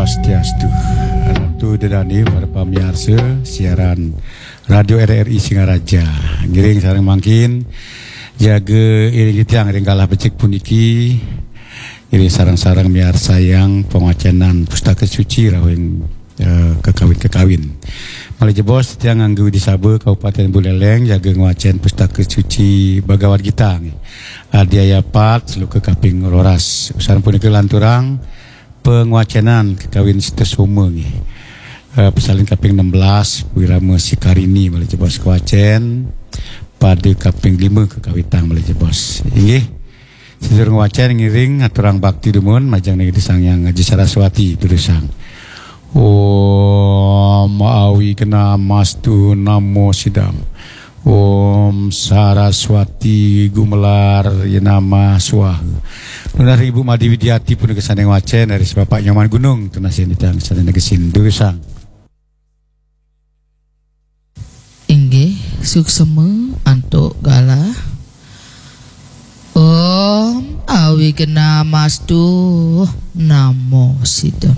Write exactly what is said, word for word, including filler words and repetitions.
Swastiastu. Ratu Dedani para pamiarsa siaran Radio R R I Singaraja. Ngiring sareng mangkin jaga iring titiang ring galah becik puniki. Iring sareng-sareng miarsayang pangwacenan Pustaka Suci rawing eh, kekawin-kekawin. Malih jebos titiang ngangge Widisaba Kabupaten Buleleng jaga ngwacen Pustaka Suci Bhagavad Gita nggih. Adi ayat pat sloka kaping roras. Usan punika lanturang pangwacenan kekawin Sita Soma nggih. Eh, pasalin kaping enam belas, Wirama Sikarini malih jebos kawacen. Pada kaping lima kekawitang malih jebos. Inggih. Sedurung wacen ngiring aturang bakti dumun majeng Ida Sang Hyang Aji Saraswati durusang. Om Awighnamastu Namo Sidam. Om Saraswati Gumelar Yenama Swaha. Nunas Ibu Made Widiati punika sane ngwacen dari Bapak Nyoman Gunung, tunas yen titiang sane negesin durusang. Inggih, suksema antuk galah. Om Awighnamastu Namo Sidam.